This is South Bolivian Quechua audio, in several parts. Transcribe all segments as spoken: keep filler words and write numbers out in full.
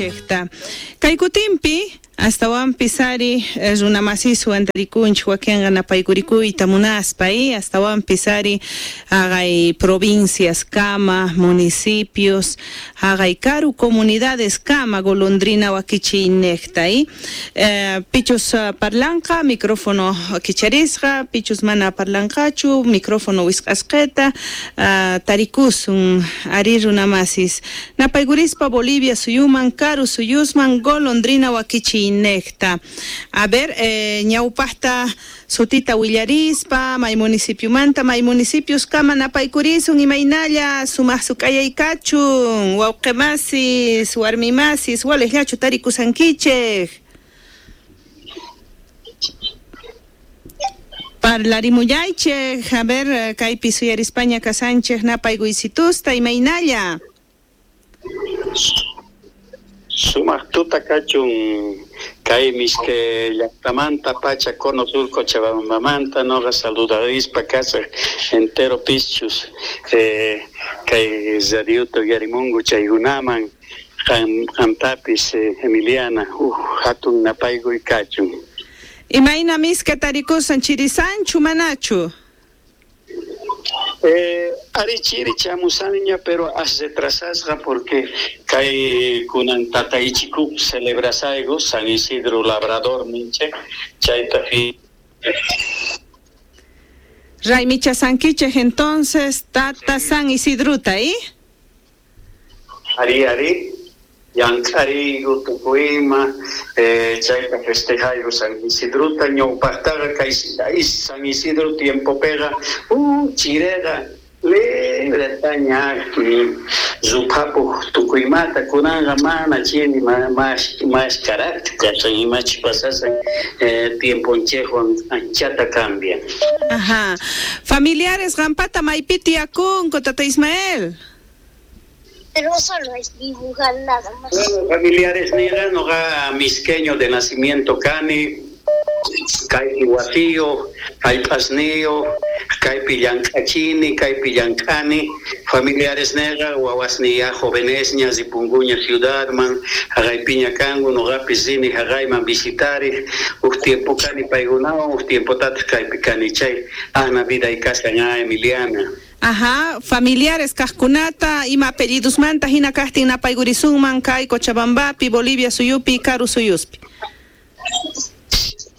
wakichiyninchikta. Kay kutinpi astawanpis ari runamasiswan tarikunchik wakinqa napaykurikuyta munaspa y astawanpis ari haqay provincias kama, municipios, haqay karu comunidades kama golondrina wakichiynejta y eh, pichus parlanqa micrófono kicharisqa, pichus mana parlanqachu micrófono wisq'asqeta uh, tarikusun ari runamasis napaykurispa Bolivia suyuman karu suyusman golondrina wakichiy necta. A ver, eh, ñawpajta sutita willarispa, may municipiomanta, may municipios kama napaykurisun imaynalla sumaq suk'ayaykachun, wawqimasis, warmimasis, walejllachu tarikusankichej. Parlarimuyaychej, a ver, kaypi suyarispaña kasanchej napaykuysitusta imaynalla. Sumaq tuta kachun kay miske llaqtamanta pacha cono sur Cochabambamanta noqa saludarispa kasaq entero pischus eh, kay radiota uyarimunku chaykunaman qam qamtapis eh, Emiliana uj hatun napaykuy kachun. Imayna miska tarikusan chirisanchu manachu? Eh, ari chiri chamusaña pero as retrasasqa porque kay kunan tataychiku celebrasayku San Isidro Labrador ninchik chayta fi Raymicha sankichej entonces tata San Isidruta ¿y? Ari ari llank'ariyku tukuyma eh, chayta festejayku San Isidruta ñawpaqtaqa kay San Isidro tiempopiqa uh, chireqa libretaña ruphapuq tukuymata kunanqa mana chiri mas mas carácter kasan imachi pasasan eh, tiemponchejwan anchata cambia. Ajá. Familiares qampata maypi tiyakunku tata Ismael. Pero solo es dibujar nada más. Bueno, familiares nira noqa misqueño de nacimiento kani, kaypi wasiyo, jallp'asniyo, kaypi llank'achini, kaypi llank'ani, familiares nirqa wawasniya jovenesña ripunkuña ciudadman, haqaypiña kanku noqapis rini haqayman visitarej, uj tiempo kani paykunawan, uj tiempotataq kaypi kani chay ahna viday kashan a Emiliana. Ajá, familiares kajkunata ima apellidusmanta hina kajtin napaykurisunman kay Cochabambapi, Bolivia suyupi, karu suyuspi.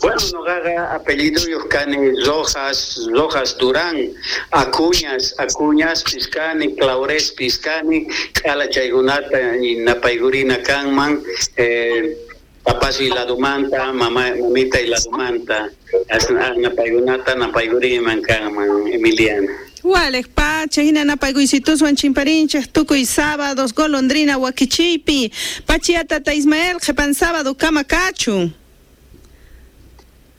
Bueno, noqaqa apelliduyuq kani Rojas, Rojas Durán, Acuñas, Acuñas kani, Claures kani, q'ala chaykunata napaykurina kanman, eh, papasi ladumanta, mama, mamita ladumanta, napaykunata napaykuriman kanman, Emiliana. Walej pacha, hina napaykuysitusuan chimparinchej tukuy sábados, golondrina wakichiypi, pachia tata Ismael, qhipan sábado kama kachun.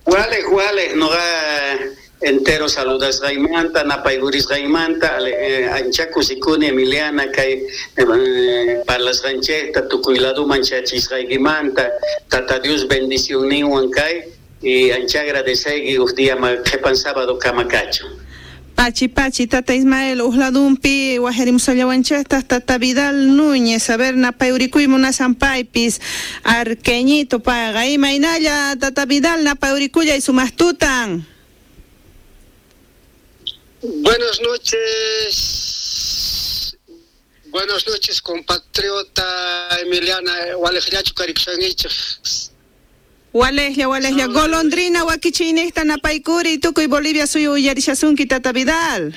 Walej, walej, noqa entero saludasqaymanta, napaykurisqaymanta, eh, ancha kusikuni Emiliana kay eh, parlasqanchejta tukuy laduman chachisqaykimanta, tata Dios bendicionninwan kay, y ancha agradeceyki uj día qhipan sábado kama kachun. Pachi, pachi, tata Ismael, ujladumpi, wajerimusallawanchejtaj, tata Vidal Núñez, a ver, napayurikuy munasanpaypis, arqueñito payqa, imaynalla, tata Vidal, napayurikullay sumaqtutan. Buenas noches, buenas noches, compatriota Emiliana, walejllachu karikusankichej. Walejlla, walejlla, golondrina wakichiynejta napaykuri, tukuy Bolivia suyu uyarishasunki, tata Vidal.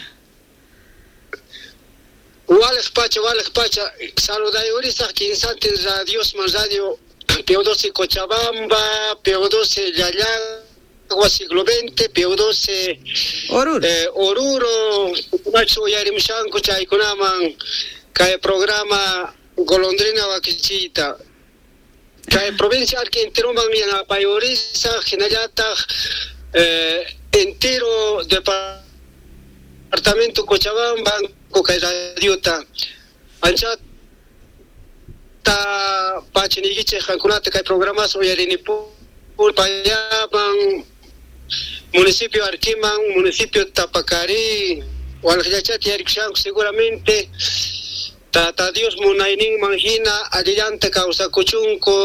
Walej pacha, walej pacha, saludayurisaq kinsantin radiosman, radio P doce Cochabamba, P doce Llallagua siglo veinte, P doce Oruro, eh, Oruro, uyarimushanku chaykunaman kay programa Golondrina wakichiyta. Kay provincia arki enteroman yanapayurisa hinallataq eh, entero departamento Cochabamba kay radiota anchata pachiniykichej qankunata kay programas uyarinipun payaman municipio Arquiman, municipio Tapacarí, walqllachata yarikushanku seguramente. Tata Dios munayninman hina allillanta kawsakuchunku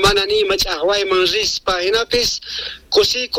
mana nima ch'aqwayman rispa hinapis kusikuni.